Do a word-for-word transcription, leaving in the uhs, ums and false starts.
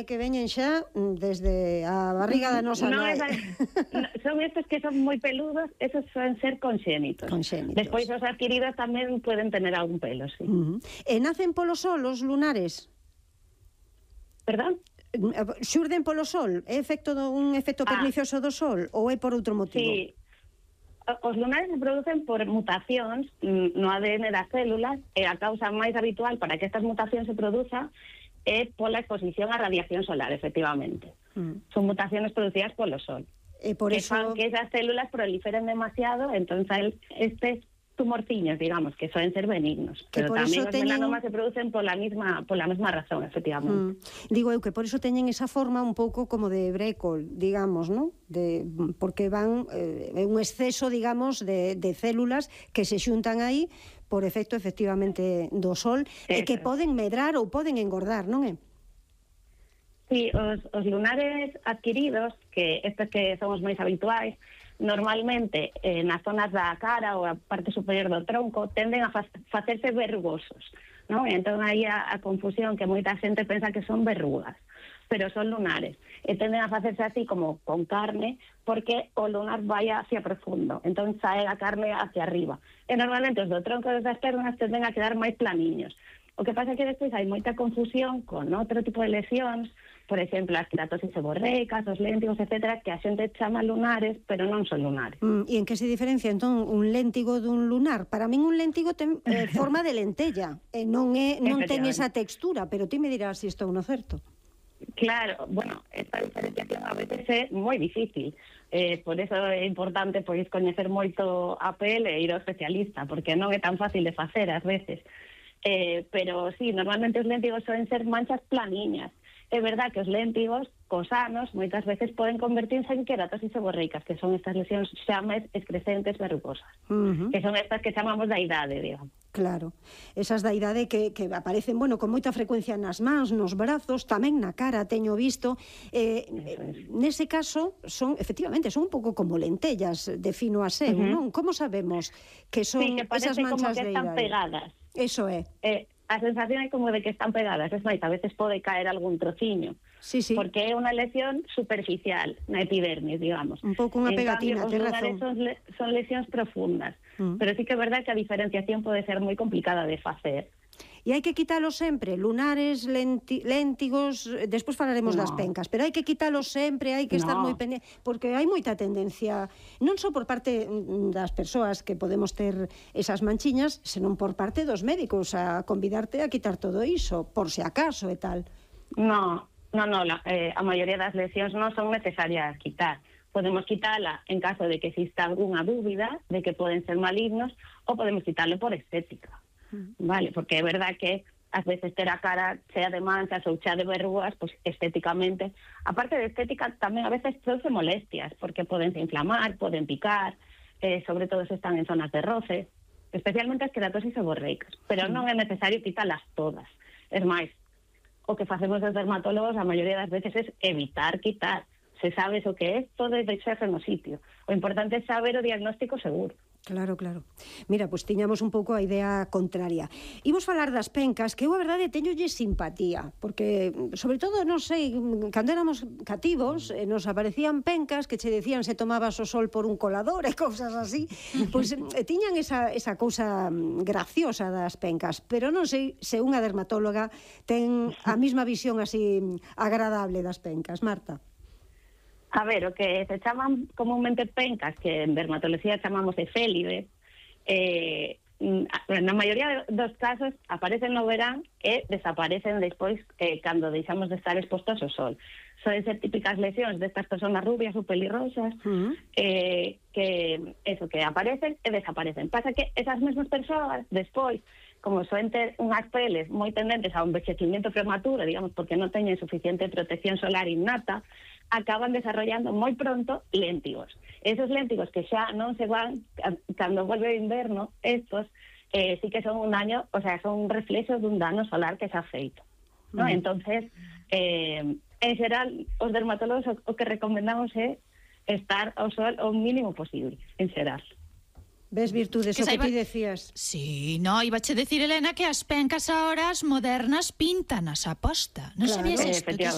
é que veñen xa desde a barriga da nosa no, nai. Esa, no, son estos que son moi peludos, esos suelen ser congénitos. Congénitos. Despois os adquiridos tamén poden tener algún pelo, sí. Uh -huh. E nacen polo sol os lunares? Perdón? Xurden polo sol? É efecto do, un efecto pernicioso do sol ou é por outro motivo? Sí. Os lunares se producen por mutacións no A D N das células e a causa máis habitual para que estas mutacións se produzan é pola exposición á radiación solar, efectivamente. Mm. Son mutacións producidas polo sol. E por que eso... fan que esas células proliferen demasiado, entón estes tumorciños, digamos, que suelen ser benignos. Que pero por tamén eso os teñen... melanomas se producen pola mesma pola mesma razón, efectivamente. Mm. Digo eu que por eso teñen esa forma un pouco como de brécol, digamos, ¿no? De, porque van eh, un exceso, digamos, de, de células que se xuntan aí por efecto, efectivamente, do sol, eso. E que poden medrar ou poden engordar, non é? Sí, os, os lunares adquiridos, que estes que son os máis habituais, normalmente eh, nas zonas da cara ou a parte superior do tronco tenden a fa facerse verrugosos, non? Entón aí a, a confusión que moita xente pensa que son verrugas, pero son lunares e tenden a facerse así como con carne porque o lunar vai hacia profundo, entón sae a carne hacia arriba e normalmente os do tronco das pernas tenden a quedar máis planiños. O que pasa é que despois hai moita confusión con outro tipo de lesións, por exemplo, as queratosis seborreicas, os léntigos, etcétera, que a xente chama lunares, pero non son lunares. Mm, e en que se diferencia, entón, un léntigo dun lunar? Para min un léntigo ten eh, forma de lentella, e non, é, non ten esa textura, pero ti me dirás se si estou no certo. Claro, bueno, esta diferenciación a veces é moi difícil. Eh, por eso é importante pois coñecer moito a pel e ir ao especialista, porque non é tan fácil de facer ás veces. Eh, pero sí, normalmente os léntigos suelen ser manchas planiñas. É verdad que os léntigos, cosanos, moitas veces poden convertirse en queratosis seborreicas, que son estas lesións xa máis excrescentes verrugosas, uh -huh. que son estas que chamamos da idade, digamos. Claro, esas da idade que, que aparecen, bueno, con moita frecuencia nas mans, nos brazos, tamén na cara, teño visto. Eh, nese caso, son, efectivamente, son un pouco como lentellas, defino a seu, uh -huh. non? Como sabemos que son sí, que esas manchas de idade? Sí, que parece como que están pegadas. Eso é. Eh, a sensación é como de que están pegadas, es máis, a veces pode caer algún trociño, sí, sí. porque é unha lesión superficial na epidermis, digamos. Un pouco unha pegatina, ten razón. Son, son lesións profundas, mm. pero sí que é verdad que a diferenciación pode ser moi complicada de facer. E hai que quitalos sempre, lunares, lenti, léntigos, despois falaremos no. das pencas, pero hai que quitalos sempre, hai que no. estar moi pendiente, porque hai moita tendencia, non só por parte das persoas que podemos ter esas manchiñas, senón por parte dos médicos a convidarte a quitar todo iso, por se acaso e tal. No, no, no, la, eh, a maioría das lesións non son necesarias quitar. Podemos quitala en caso de que exista algunha dúbida de que poden ser malignos ou podemos quitarlo por estética. Vale, porque é verdad que ás veces ter a cara chea de manchas ou chea de verrugas, pues estéticamente, aparte de estética, tamén a veces produce molestias, porque poden se inflamar, poden picar, eh, sobre todo se están en zonas de roce, especialmente as queratosis seborreicas, pero non é necesario quitalas todas. Es máis, o que facemos os dermatólogos a maioría das veces es evitar quitar. Se sabes o que é, todo é deixarse no sitio. O importante é saber o diagnóstico seguro. Claro, claro. Mira, pois pues, tiñamos un pouco a idea contraria. Imos falar das pencas, que eu a verdade teñolle simpatía, porque, sobre todo, non sei, cando éramos cativos, eh, nos aparecían pencas que che decían se tomabas o sol por un colador e cousas así, pois pues, eh, tiñan esa, esa cousa graciosa das pencas, pero non sei se unha dermatóloga ten a mesma visión así agradable das pencas. Marta. A ver, o que se chaman comúnmente pencas, que en dermatología chamamos efélide, eh, na maioría dos casos aparecen no verán e desaparecen despois eh, cando deixamos de estar expostos ao sol. Soden ser típicas lesións destas personas rubias ou pelirrosas, uh-huh. eh, que eso, que aparecen e desaparecen. Pasa que esas mesmas persoas despois, como soen ter unhas peles moi tendentes a un envexecimiento prematuro, digamos, porque non teñen suficiente protección solar innata, acaban desarrollando moi pronto léntigos. Esos léntigos que xa non se van cando volve o inverno, estos eh, sí que son un daño, o sea, son un reflexo dun dano solar que se ha feito, ¿no? Mm. Entonces, eh, en xeral, os dermatólogos o, o que recomendamos é estar ao sol o mínimo posible, en xeral. Ves virtudes, o que ti decías. Sí, no, iba a decir, Elena, que as pencas ahora as modernas pintanas a posta. Non claro, sabías isto? Efectivamente.